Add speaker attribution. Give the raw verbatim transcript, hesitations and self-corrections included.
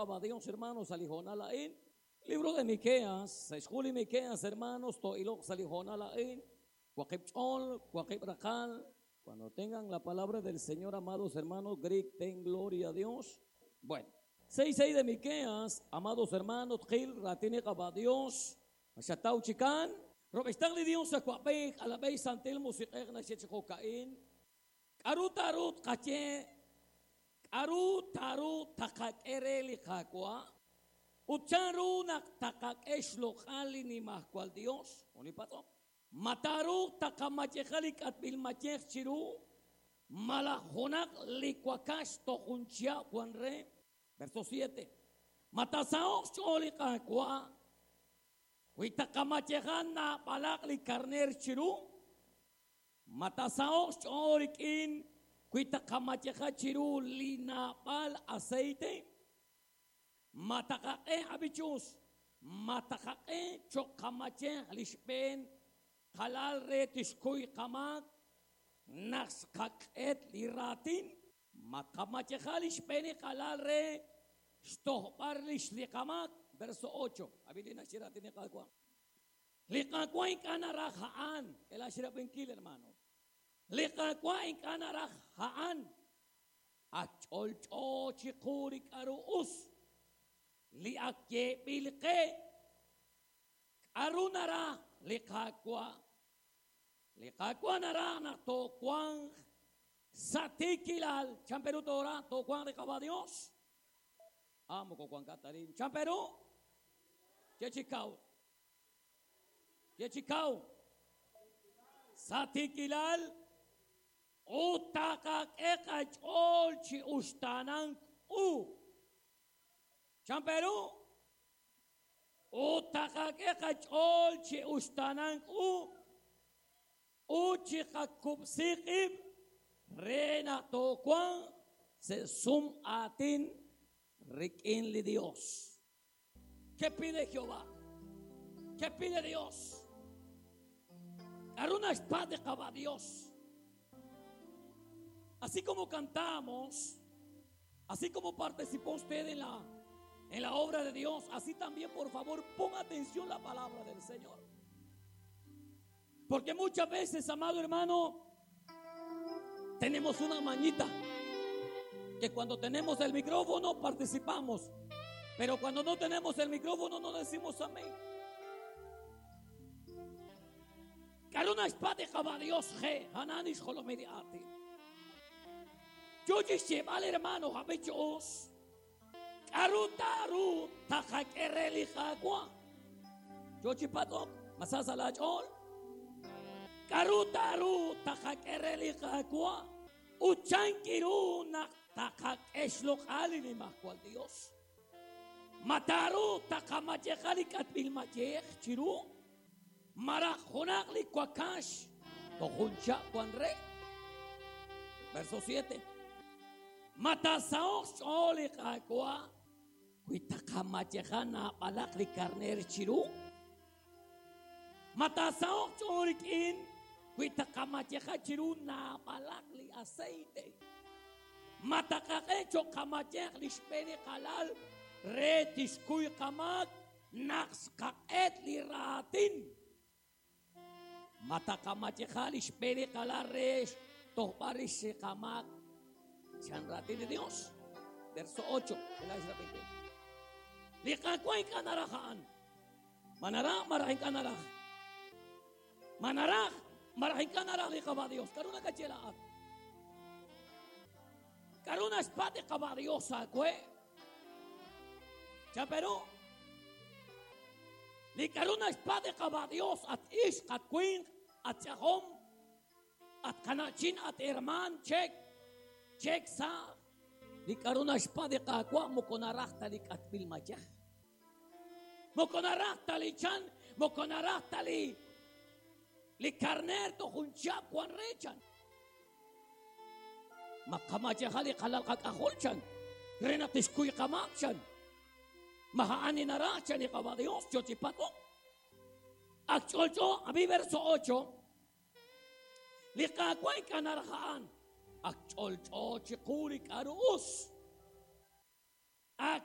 Speaker 1: qaba Dios, hermanos, sa li hoonal a'in. Libro de Miqueas, sa' xhu li Miqueas, hermanos, to'iloq sa li hoonal a'in. Waqib' ch'ol, waqib' raqal. Cuando tengan la palabra del Señor, amados hermanos, griten gloria a Dios. Bueno, seis seis de Miqueas, amados hermanos, Gil, raatin li qaba Dios, Xataw chikan, Robestang li Dios akwabej, alabej santil musiq'ej naxye chi jo'ka'in. K'aru taru tqaye, k'aru taru taqak'e re li Qaawa', ut chanru naq taqak'e xloq'al li nimajwal Dios, unipatz'om. Ma taru taqamayeja li k'atb'il mayej chiru, malaj junaq li wakax toj jun chihab' wan re. Verso siete. Ma taasaho'q xch'ool li Qaawa', wi taqamayeja naab'alaq li karner chiru, ma taasaho'q xch'ool rik'in wi taqamayeja chiru li naab'al aceite, ma taqak'e abichus, ma taqak'e cho'q qamayej li xb'een qalal re tixkuy qamaak naq xqaq'et li raatin, ma qamayeja li xb'een qalal re xtojb'al rix li qamaak. Verso ocho. Abilina xiratin li Qaawa'. Li Qaawa' ink'a' naraj a'an. K'ela xirab'inkil, hermano. Li Qaawa' ink'a' naraj a'an. Ak ch'olch'o chiqu li k'aru us. Li ak yeeb'il qe. K'aru naraj li Qaawa'. Li Qaawa' naraj naq toowanq sa' tiikilal. Chan Perú tora, toowanq li Qaba Dios. Amo ko Juan Catarín. Chan Perú. Chechikau. Chechikau. Sa tiikilal. Ut taqak'e qach'ool chi uxtaanank u. Chan Perú. Ut taqak'e qach'ool chi uxtaanank u. Ut chi qakub'si qib' re naq toowanq sa' sum aatin rik'in li Dios. ¿Qué pide Jehová? ¿Qué pide Dios? K'aru naxpatz' li Qaba Dios. Así como cantamos, así como participó usted en la, en la obra de Dios, así también, por favor, ponga atención la palabra del Señor. Porque muchas veces, amado hermano, tenemos una mañita que cuando tenemos el micrófono participamos, pero cuando no tenemos el micrófono no decimos amén. K'aru naxpatz' li Qaba Dios je, Hanani xjolomil li aatin. Yo xyeeb'al, hermano, abichos. K'aru taru taqak'e re li Qaawa'. Yo chipatz'ok, masasa la ch'ool. K'aru taru taqak'e re li Qaawa'. Ut chankiru naq taqak'e xloq'al li nimajwal Dios. Ma taru taqamayeja li k'atb'il mayej chiru. Malaj junaq li wakax toj jun chihab' wan re. Verso siete. Ma taasaho'q xch'ool li Qaawa' wi taqamayeja naab'alaq li karner chiru. Ma taasaho'q xch'ool rik'in wi taqamayeja chiru naab'alaq li aceite. Ma taqak'e cho'q qamayej li xb'een qalal re tixkuy qamaak naq xqaq'et li raatin. Ma taqamayeja li xb'een qalal re xtojb'al rix li qamaak. Chan raatin li Dios. Verso ocho. Li Qaawa' ink'a' naraj a'an. Ma naraj, malaj ink'a' naraj. Ma naraj, malaj ink'a' naraj li Qaba Dios. K'aru nakaye laa'at? K'aru naxpatz' li Qaba Dios aawe? Chan Perú. Li k'aru naxpatz' li Qaba Dios at ixq, at winq, at ch'ajom, at qana'chin, at herman, chek, chek sa'. Li k'aru naxpatz' li Qaawa' moko naraj ta li k'atb'il mayej. Moko naraj ta li chan, moko naraj ta li li karner toj jun chihab' wan re chan. Ma qamayeja li qalal qak'ajol chan. Re naq tixkuy qamaak chan. Ma a'an li naraj chan li Qaba Dios, yo chipatz'ok. Ak ch'olch'o, abi verso ocho. Li Qaawa' ink'a' naraj a'an. Ak ch'olch'o chiqu li k'aru us. Ak